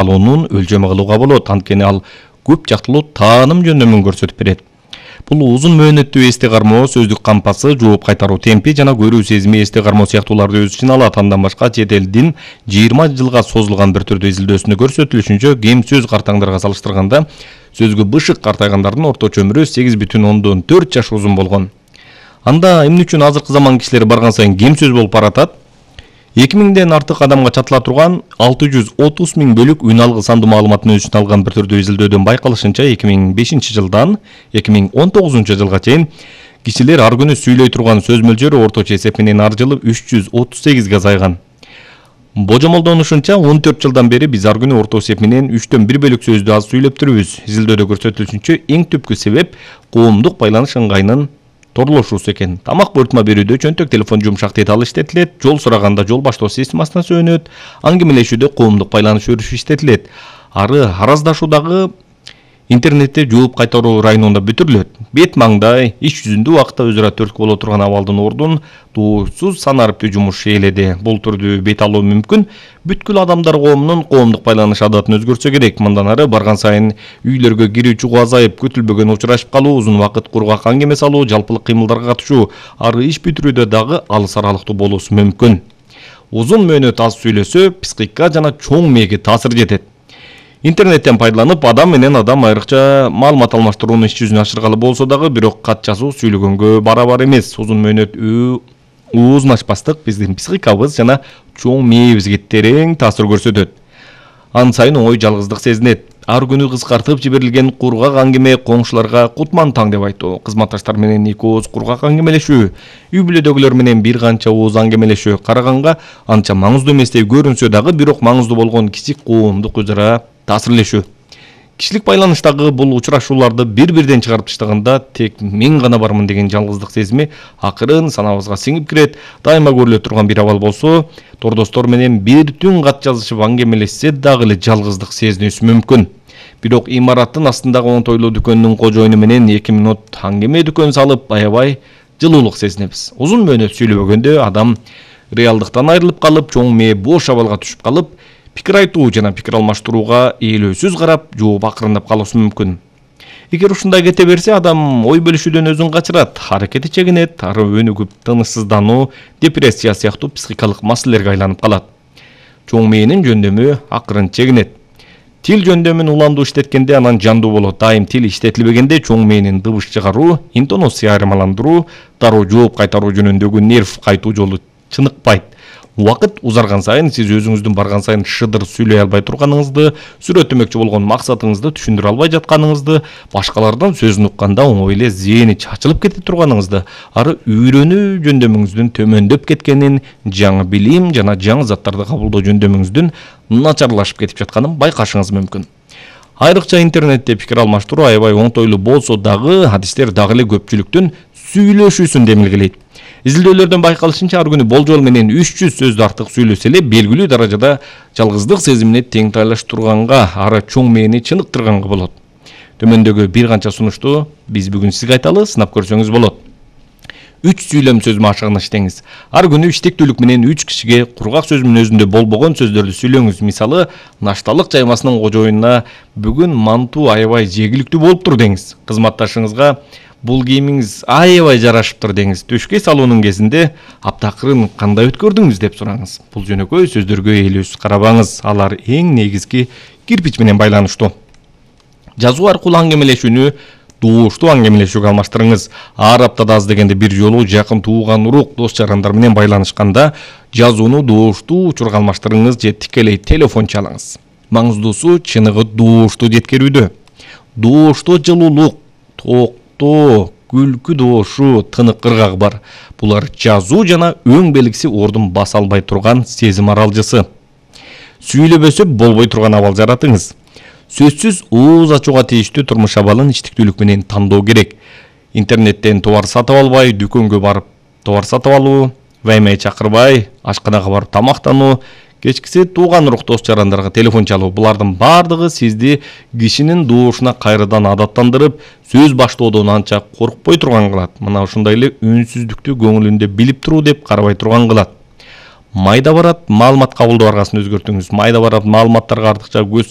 алуунун өлчөмү кылууга болот, анткени ал көп жактылуу тааным жөндөмүн көрсөтүп берет. Бул узун мөөнөттүү эсте кармоо, сөздүк кампасы, жооп кайтаруу темпи жана көрүү сезими эсте кармоо сыяктууларды өз ичине алат. Андан башка чет элдин 20 жылга созулган бир түрдүү изилдөөсүндө көрсөтүлүшүнчө, кем сөз картаңдарга салыштырганда сөзгө бышык картайгандардын орточо өмүрү 8,4 жаш узун болгон. Анда эмне үчүн азыркы заман кишилери барган сайын кем сөз болуп баратат? 2000ден артык адамга чатыла турган 630 000 бөлүк үн алгы сандуу маалыматтын өз ичине алган бир түрдүү изилдөөдөн байкалышынча 2005 жылдан 2019 жылга чейин кишилер ар күнү сүйлөй турган сөз мөлчөрү орточо эсеп менен ар жылы 338ге азайган. Божомолдонушунча 14 жылдан бери биз ар күнү орто эсеп менен 3/4 бөлүк сөздү аз сүйлөп турбуз. Изилдөөдө көрсөтүлүшүнчө эң түпкү себеп коомдук байланыш ыңгайынын торлошуусу экен. Тамак буйртма берүүдө чөнтөк телефон жумшак деталь иштетилет, жол сураганда жол баштоо системасына сөөнөт, аңгемелешүүдө коомдук байланыш өрүшү иштетилет. Ары араздашуудагы интернетте жооп кайтаруу районунда бүтүрүлөт. Бет маңдай, иш жүзүндө убакытта өзүрө төрткү боло турган абалдын ордун туурсуз санариптүү жумуш ээледи. Бул түрдүү бет алуу мүмкүн бүткүл адамдар коомунун коомдук байланыш адатын өзгөртсө керек. Мындан ары барган сайын үйлөргө кирүү чыгуу азайып, күтүлбөгөн учурашып калуу, узун убакыт кургак аңгеме салуу, жалпылык кыймылдарга катышуу, ары иш бүтүрүүдө дагы алыс аралыктуу болуусу мүмкүн. Узун мөөнөт аз сүйлөсө, психикка жана чоң мээге таасир жетет. Интернеттен пайдаланып, адам менен адам айрыкча маалымат алмаштырууну иш жүзүнө ашыргалы болсо дагы, бирок кат жазуу сүйлөгөнгө барабар эмес. Узун мөөнөт узун ачпастык биздин психикабыз жана чоң мээбизге терең таасир көрсөтөт. Ан сайын оңой жалгыздык сезинет. Ар күнү кыскартып жиберилген кургак аңгеме коңшуларга кутман таң деп айтуу, кызматташтар менен 2 ооз кургак аңгемелешүү, үй бүлөдөгүлөр менен бир канча ооз аңгемелешүү караганга анча маңыздуу эместей көрүнсө дагы, бирок маңыздуу болгон кичик коомдук өзара таасирлешүү. Кишилик байланыштагы бул учурашууларды бир-бирден чыгарып таштаганда тек мен гана бармын деген жалгыздык сезими акырын санабызга сиңип кирет. Дайыма көрүлө турган бир абал болсо, тордоштор менен бир түн кат жазышып аңгемелешсе дагы эле жалгыздык сезинүүсү мүмкүн. Бирок имараттын астындагы оңтойлуу дүкөнүнүн кожоюну менен 2 минут аңгеме дүкөн салып, аябай жылуулук сезинебиз. Узун мөөнөт сүйлөбөгөндө адам реалдыктан айрылып калып, чоң мээ бош абалга түшүп калып, пикир айтуу жана пикир алмаштырууга ээлөөсүз карап, жооп акырындап калуусу мүмкүн. Эгер ушундай кете берсе, адам ой бөлүшүүдөн өзүн качырат, аракети чегинет, ары өнүгүп, тынычсыздануу, депрессия сыяктуу психикалык маселелерге айланып калат. Чоң мээнин жөндөмү акырын чегинет. Тил жөндөмүн уландуу иштеткенде анан жандуу болот. Дайым тил иштетилбегенде чоң мээнин дыбыш чыгаруу, интонация айырмаландыруу, дароо жооп кайтаруу жөнүндөгү нерв кайтуу жолу чыныкпайт. Убакыт узарган сайын сиз өзүңүздүн барган сайын шыдыр сүйлөй албай турганыңызды, сүрөттөмөкчү болгон максатыңызды түшүндүрө албай жатканыңызды, башкалардан сөзүн укканда оңой эле зээни чачылып кете турганыңызды, ары үйрөнүү жөндөмүңүздүн төмөндөп кеткенин, жаңы билим жана жаңы заттарды кабылдоо жөндөмүңүздүн начарлашып кетип жатканын байкашыңыз мүмкүн. Айрыкча интернетте пикир алмаштыруу аябай оңтойлуу болсо дагы, адистер дагы эле көпчүлүктүн сүйлөшүүсүн демилгелейт. Изилдөөлөрдөн байкалышынча, ар күнү болжол менен 300 сөздү артык сүйлөсө эле белгилүү даражада жалгыздык сезимине теңтайлаштырганга, ары чоң мээни чыныктырганга болот. Төмөндөгү бир канча сунушту биз бүгүн сизге айталы, сынап көрсөңүз болот. 3 сүйлөм сөз машыгын иштеңиз. Ар күнү иштектүүлүк менен 3 кишиге кургак сөзүнүн өзүндө болбогон сөздөрдү сүйлөңүз. Мисалы, нашталык жаймасынын кожоюнуна бүгүн мантуу аябай жегиликтүү болуптур деңиз. Кызматташыңызга бул кийимиңиз аябай жарашыптыр деңиз. Төшкө салуунун кезинде аптакырын кандай өткөрдүңүз деп сураңыз. Бул жөнөкөй сөздөргө ээлөөсүз карабаңыз. Алар эң негизги кирпич менен байланыштуу. Жазуу аркылуу аңгемелешүүнү дооштуу аңгемелешүүгө алмаштырыңыз. Ар аптада аз дегенде бир жолу жакын тууган урук, дос жарандар менен байланышканда жазууну дооштуу учурга алмаштырыңыз же тикелей телефон чалыңыз. Маңыздуусу чыныгы дооштуу жеткирүүдө. Дооштоо жылуулук, токтоо, күлкү доошу, тынык ыргак бар. Булар жазуу жана өң белгиси ордун баса албай турган сезим аралжысы. Сүйлөбөсө болбой турган абал жаратыңыз. Сөзсүз ооз ачууга тийиштүү турмуш абалын иштиктүүлүк менен тандоо керек. Интернеттен товар сатып албай, дүкөнгө барып товар сатып алуу, ваймай чакырбай, ашканага барып тамактануу, кечкиси тууган урук дос жарандарга телефон чалуу. Булардын бардыгы сизди кишинин доошуна кайрадан адаттандырып, сөз баштоодон анча коркпой турган кылат. Мына ушундай эле үнсүздүктү көңүлүндө билип туруу деп карабай турган кылат. майда барат маалымат кабылдоо аргасын өзгөртүңүз. Майда барат маалыматтарга артыкча көз